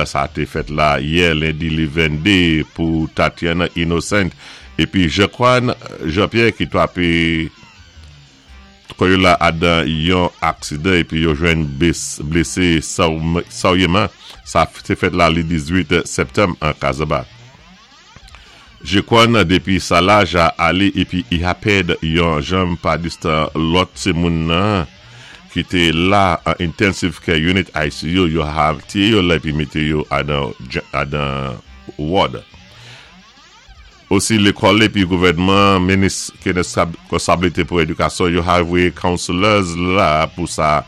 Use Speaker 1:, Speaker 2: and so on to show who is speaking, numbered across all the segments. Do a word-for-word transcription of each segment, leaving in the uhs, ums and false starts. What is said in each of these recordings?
Speaker 1: Sa té fèt la yè lendi li venndé pou Tatiana Innocent épi Jean-Quan Jean-Pierre ki twapé kò yo la adan yon aksidan épi yo jwenn blésé sèwyéman. Sa té fèt la li dizuit septanm an Kazaba. Jean-Quan dépi sa la ja alé épi i ha pèd yon janm padistan lòt sé moun nan ki té la an Intensive Care Unit I C U, yo ha tiyé yo la épi mété yo adan, adan ward. Osi lékòl épi gouvèdman minis ki résponsabilité pou édikasyon yo ha voyé counselors la pou sa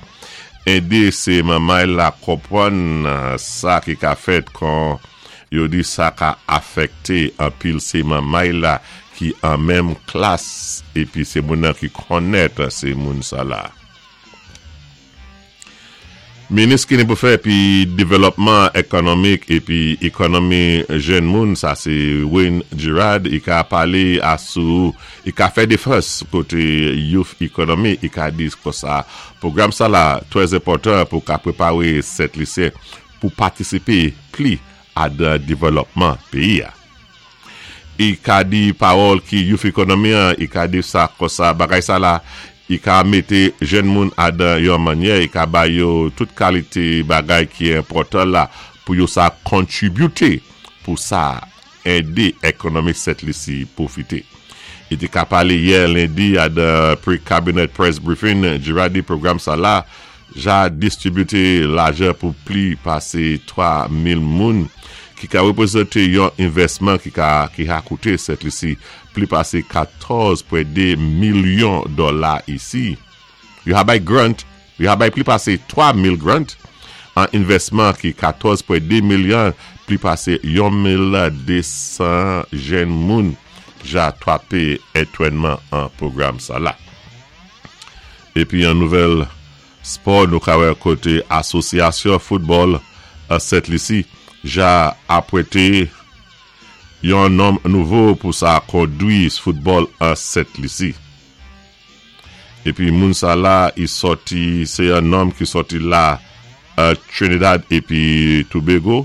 Speaker 1: édé sé manmay la konpwann sa ki ka fèt kon yo di sa ka afèkté anpil sé manmay la ki an menm klas épi sé moun nan ki konnèt sé moun sa la. Minis ki ni pou fè épi dévlopman ékonomik épi ékonomi jèn moun, sa sé Wayne Girard, i ka palé asou, i ka fè défans koté Youth Economy, i ka di kon sa, pwogram sa la twè enpòtan pou ka préparé Sent Lisyen pou patisipé pli adan dévlopman péyi a. I ka di pawòl ki Youth Economy an, i ka di sa kon sa, bagay sa la, i ka mété jèn moun adan yon mannyè, i ka ba yo tout kalité bagay ki enpòtan la pou yo sa kontribiwté pou sa édé ékonomi Sent Lisi pwofité. I té ka palé yè lendi adan pre-cabinet press briefing, Girard di pwogram sa la, ja distribwité lajan pou pli pasé twa mil moun ki ka wépwézanté yon envèsman ki ka ki ha kouté Sent Lisi pli pasé katòz pwen dé milyon dola isi. Yo ha bay grant, yo ha bay pli pasé twa mil grant an envèsman ki katòz pwen dé milyon, pli pasé mil de san jèn moun ja twapé antwénman an pwogram sa la. Épi an nouvèl spò nou ka wè koté asosyasyon foutbòl a Sent Lisi ja apwété yon nonm nouvo pou sa kondwi foutbòl a Sent Lisi. Épi moun sa la, i sòti, sé yon nonm ki sòti la a Trinidad épi Tobago.